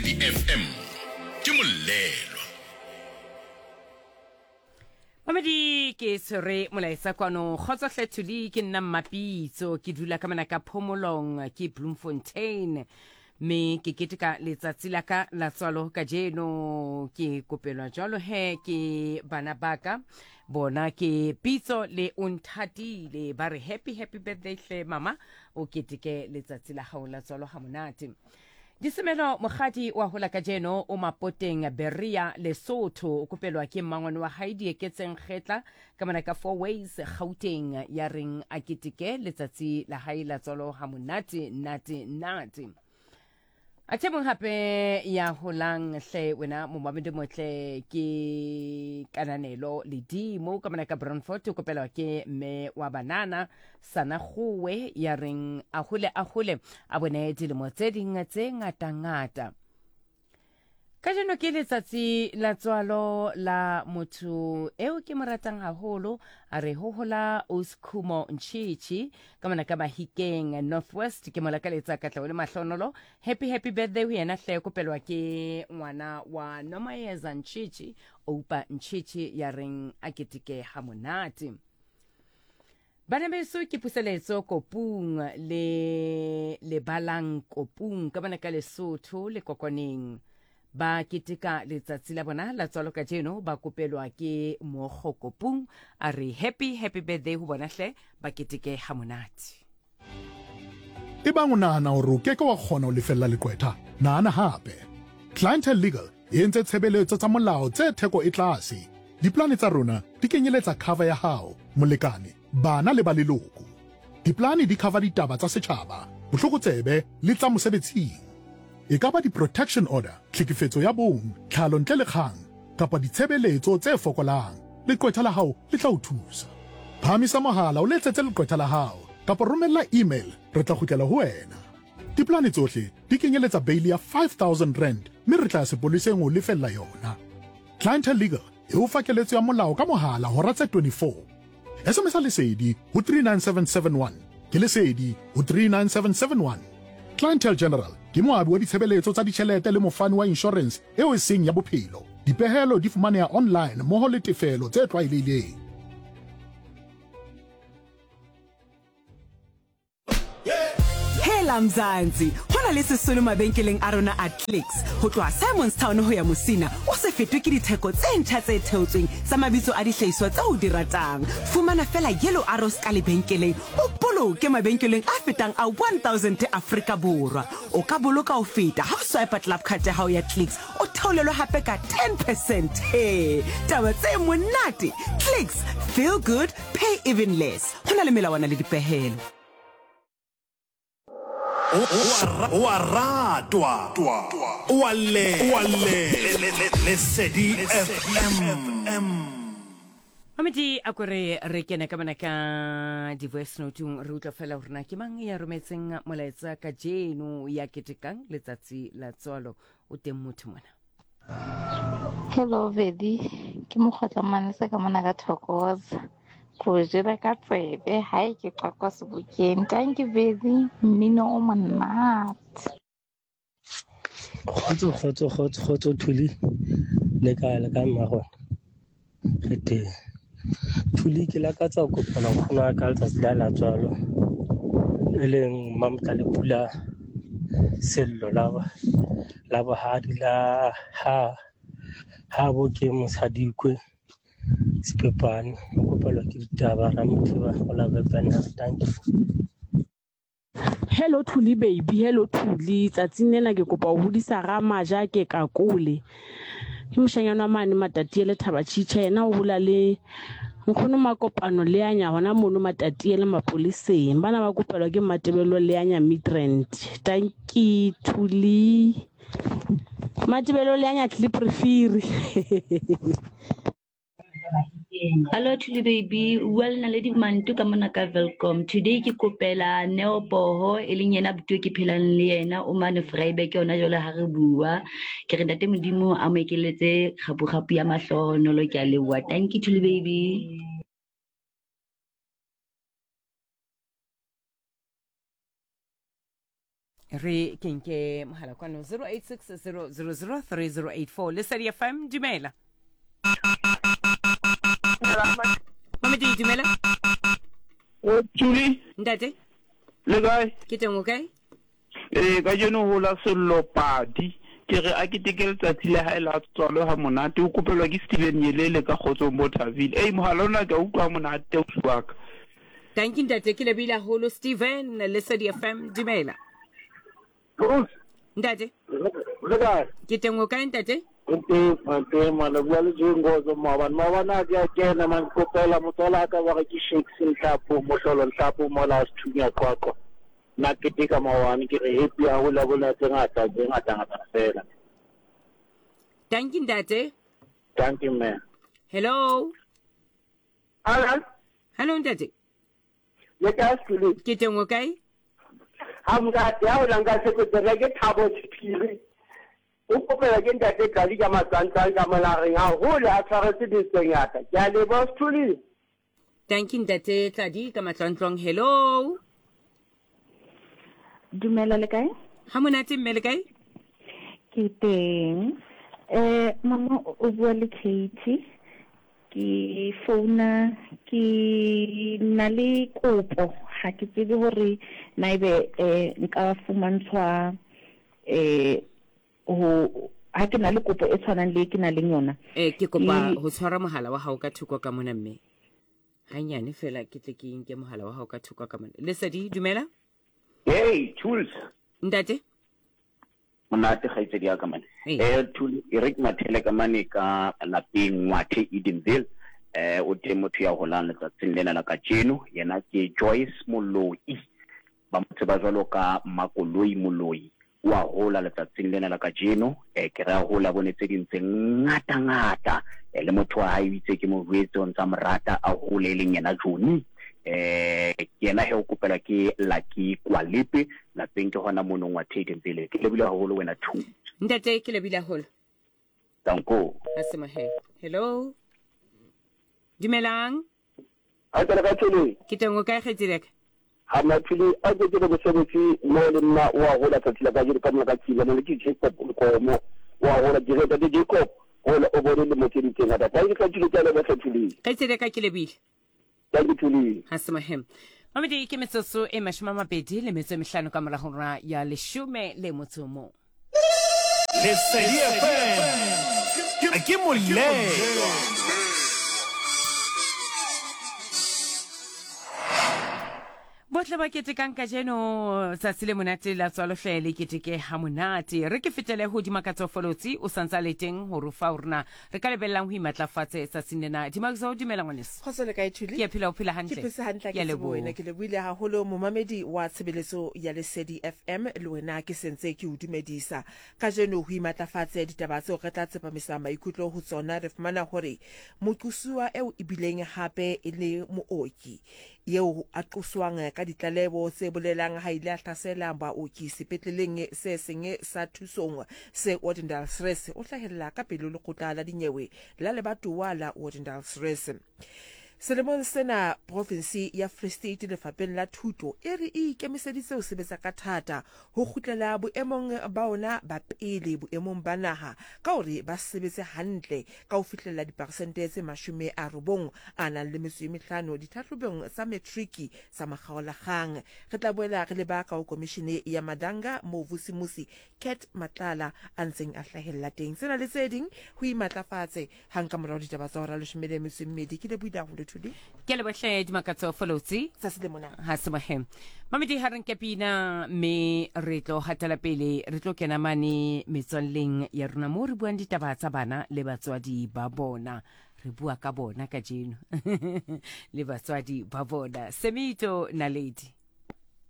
Lesedi FM ke Mollelwa. Mamedi ke tshwere molaetsa kwano kgotso hle Thuli ke nna Mmapitso ke dula ka mona ka Phomolong ke Bloemfontein mme ke keteka letsatsi la ka la tswalo kajeno ke kopelwa jwalo he ke bana baka bona ke Pitso le Onthatile ba re happy happy birthday hle mama o keteke letsatsi la gago la tswalo ga monate. Disemelo Mokgadi wa hola kajeno o Mapoteng Berea Lesotho o kopelwa ke mmangwane wa hae Dieketseng Kgetla ka mona ka Four Ways Gauteng ya reng a keteke letsatsi la hae la tswalo ha monate nate nate. Athe mong hape ya holang hle wena momamedi motle ke Kananelo Ledimo ka mona ka Brandfort o kopelwa ke mme wa banana Sana Gowe ya reng a hole a hole a bone dilemo tse ding tse ngata-ngata. Kajeno ke letsatsi la tswalo la motho eo ke mo ratang haholo, a re ho hola Oskhumo Nchichi ka mona ka Mahikeng Northwest. Ke mo lakaletsa katleho le mahlonolo. Happy happy birthday ho yena hle, kopelwa ke ngwana wa Nomayeza Nchichi, Oupa Nchichi ya reng a keteke ha monate. Bana beso ke puseletso kopung le lebalang kopung ka bana ka Lesotho le Kokoneng ba keteka letsatsi la bona la tswalo kajeno ba kopelwa ke Mogo Kopung a re happy happy birthday ho bona hle ba keteke ha monate. Ebang o nahana hore o ke ke wa kgona ho lefella leqwetha, nahana hape. Clientele Legal e entse tshebeletso tsa molao tse theko e tlase. Diplane tsa rona di kenyeletsa cover ya hao, molekane, bana le ba leloko. Diplane di cover ditaba tsa setjhaba, botlokotsebe le tsa mosebetsing. E ka ba di-protection order, tlhekefetso ya bong, tlhalo ntle le kgang, kapa ditshebeletso tse fokolang, leqwetha la hao le tla o thusa. Phahamisa mohala o letsetse leqwetha la hao kapa romella email re tla kgutlela ho wena. Diplane tsohle di kenyeletsa beili ya R5000 mme re tla ya sepoleseng ho o lefella yona. Clientele Legal e o fa keletso ya molao ka mohala hora tse 24. SMS-a Lesedi ho 39771. Ke Lesedi ho 39771. Clientele General ke moabi wa ditshebeletso tsa ditjhelete le mofani wa inshorense eo e seng ya bophelo. Dipehelo di fumaneha online mmoho le tefelo tse tlwaelehileng. Hela Mzansi, ho na le sesolo mabenkeleng a rona a Clicks. Ho tloha Simonstown ho ya Musina, o se fetwe ke ditheko tse ntjha tse theotsweng tsa mabitso a dihlahiswa tseo o di ratang. Fumana feela Yellow Arrows ka lebenkeleng, o boloke mabenkeleng a fetang a 1000 Afrika Borwa. O ka boloka ho feta ha o swipa Club Card ya hao ya Clicks, o theolelwe hape ka 10 percent. He, taba tse monate! Clicks, feel good, pay even less. Go na le melawana le dipehelo. O a ratwa, o a llelwa. Lesedi FM. Mamedi a ko re re kene ka mona ka di-voice note-ong re utlwa fela gore na ke mang ya rometseng molaetsa ka jeno ya ketekang letsatsi la tswalo o teng motho mona. Hello Vedi, ke mokgotla manese ka mona ka Thokoza. Ko jela ka tsebe hae ke qwaqwa sebokeng. Thank you Vedi, mmino o monate. Kgotso kgotso kgotso kgotso Thuli le kae le kae mmagona re teng Thuli ke lakatsa ho kopana nkgono wa ka letsatsi la la tswalo e leng Mamotlalepula Sello la la bohadi la ha ha bo ke Mosadikwe Sepepane o kopelwa ke ditaba Ramothiba o la Vepenham dankie. Hello Thuli baby, hello Thuli. Tsatsing lena ke kopa ho hodisa Ramaja ke Kakole. Ke moshanyana wa mane Matatiele Thabatšhitšha yena o hola le nkgono Makopano Leanya hona mono Matatiele mapoleseng. Bana ba kopelwa ke Matebello Leanya Midrand. Tanki Thuli. Matebello Leanya Kliprefiri. Hello Thuli baby, o bua le Naledi Mantu ka mona ka Welkom. Today ke kopela Neo Poho e leng yena buti ke phelang le yena o mane Vryburg yona jwale ha re bua. Ke re ntate Modimo a mo ekeletse kgapu-kgapu ya mahlohonolo ke a leboha. Thank you Thuli baby. Re ke nke mohala kwano 0860003084 Lesedi FM dumela. Mamedi dumela. O Tuli. Ntate. Le kae? Ke teng o kae? Ee, kajeno ho la Sello Padi. Ke re a keteke letsatsi la hae la tswalo ha monate. O kopelwa ke Steven Nyelele ka Kgotsong bo Thabile. Ei, mohala ona ke a utlwa ha monate ausi wa ka. Tanki ntate, ke lebile haholo Steven, Lesedi FM, dumela. Bruce. Ntate. Le kae? Ke teng o kae ntate? Ke teng, ke teng man, o bua le Jengozo maobane. Maobane a ke a kena man, ke kopela motswala ka ba re ke Shakes Nhlapo, Mohlolo Nhlapo mola Sethunya Qwaqwa. Nna keteka maobane ke re happy haholo a bona tse ngata tse ngata ngata fela. Dankie ntate. Dankie mme. Hello. Hello. Hello ntate. Le kae Sulu? Ke teng o kae? Ha nka ya o nka se ke ke Thabo Sephiri. O kopela ke ntate Tlali ka matswantsang ka molareng haholo a tshwaretse dintho tse ngata. Ke a leboha Sthuli. Thank you ntate Tladi ka matlwantlong. Hello. Dumela le kae? Ha monate mme le kae? Ke teng. Eh mama o bua le Katie. Ke founa ke na le kopo ha ke tsebe hore na ebe eh nka fumantshwa eh ho ha ke na le kopo e tshwanang le e ke na leng yona. Eh ke kopa ho tshwara mohala wa hao ka thoko ka mona mme. Hanyane fela ke tle ke nke mohala wa hao ka thoko ka mona. Lesedi dumela. Hey Tools. Ntate. Monate kgaitsedi ya ka mane. Eh Tools e re ke mathele ka mane ka lapeng Ngwathe Edenville. Eh o teng motho ya holang letsatsing lena la kajeno yena ke Joyce Moloi. Ba mo tseba jwalo ka Mmakoloi Moloi. O a hola letsatsing lena la kajeno. Eh, ke re a hola a bone tse ding tse ngata-ngata. Eh, le motho wa hae o itse ke mo jwetse o ntsa mo rata a hole e leng yena Johnny. Eh, ke yena he o kopelwa ke Lucky Kwalepe lapeng ke hona mono Ngwathedeng pele. Ke lebohile haholo wena Thuso. Ntate ke lebohile haholo. Danko. Ha se mohe. Hello. Dumelang. A tsena ka tseleng. Ke teng o kae kgaitsedi ya ka? Ha maphele a ke ke le mosebetsi mo le nna o a gola tsatsi la kajeno ka mona ka tsila mo le ke Jacob Nkomo o a gola ke re ntate Jacob gola o bone lemo tse di tse ngata thank you Thuli ke a leboga Thuli. Kgaitsedi ya ka ke lebile. Thank you Thuli. Ha se mohem. Mamedi ke metsotso e 25 ka morago ra ya leshome le motso mong. Lesedi FM ke molelwa. Bohle ba ketekang kajeno tsatsi le monate la tswalohle le keteke ha monate. Re ke fetele ho Dimakatso Folotsi o santsa le teng ho re fa hore na re ka lebellang ho imatlafatse tsatsing lena. Dimakatso dumela ngwaneso. Kgotso le kae Thuli? Ke a phela o phela hantle. Ke phetse hantle Ke a ke tsebo leboha. wena ke lebohile haholo momamedi wa tshebeletso ya Lesedi FM le wena ke sentse ke o dumedisa. Kajeno ho imatlafatse ditaba tseo re tla tsepamisa maikutlo ho tsona re fumana hore moqosuwa eo ebileng hape e le mooki eo a qoswang ka ditlaleho tse bolelang ha ile a hlasela baoki sepetleleng se seng sa thusong se Odendaalsrus o hlahella ka pele ho lekgotla la dinyewe la lebatowa la Odendaalsrus. Selemong sena profinse ya Free State lefapeng la thuto e re e ikemiseditse ho sebetsa ka thata ho kgutlela boemong ba ona ba pele boemong ba naha ka hore ba sebetse hantle ka ho fihlella diperesente tse 95 ditlhahlobong tsa matriki tsa makgaolakgang. Re tla boela re leba ka ho komishene ya Madanga moo Vusimusi Cat Matlala a ntseng a hlahella teng. Tsena le tse ding ho imatlafatse hang ka morao ditaba tsa hora 12. Ke lebohile haholo Thuli. Ke lebohle Dimakatso Folotsi. Tsatsi le mona. Ha se mohe. Mamedi ha re nke pina mme re tlo hatela pele re tlo kena mane metswalleng ya rona moo re buang ditaba tsa bana le batswadi ba bona. Re bua ka bona kajeno le batswadi ba bona. Semito Naledi.